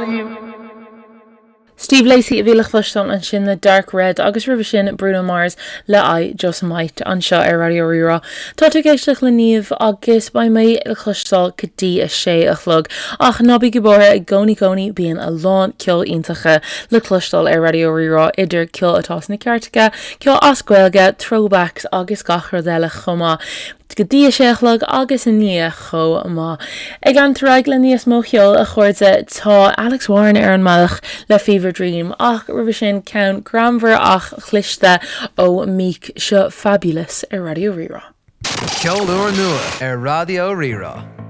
you. Steve Lacy a bhí le cloisteáil ansin le Dark Red agus roimhe sin Bruno Mars le I Just Might anseo ar Raidió Rí-Rá. Tá tú ag éisteacht le Niamh agus beidh mé le cloisteáil go dtí a sé a chlog. Ach ná bígí buartha, i gcónaí cónaí bíonn a lán ceol iontacha le cloisteáil ar Raidió Rí-Rá idir ceol atá sna cairteacha, ceol as Gaeilge, throwbacks agus gach rud eile chomh maith. Go dtí a sé a chlog agus i ndiaidh chomh maith. Ag leanacht ar aghaidh le níos mó cheoil, a chairde, tá Alex Warren ar an mbealach le Fever Dream ach roimhe sin ceann greannmhar ach chliste ó Meek, seo Fabulous ar Raidió Rí-Rá. Ceol úr nua ar Raidió Rí-Rá.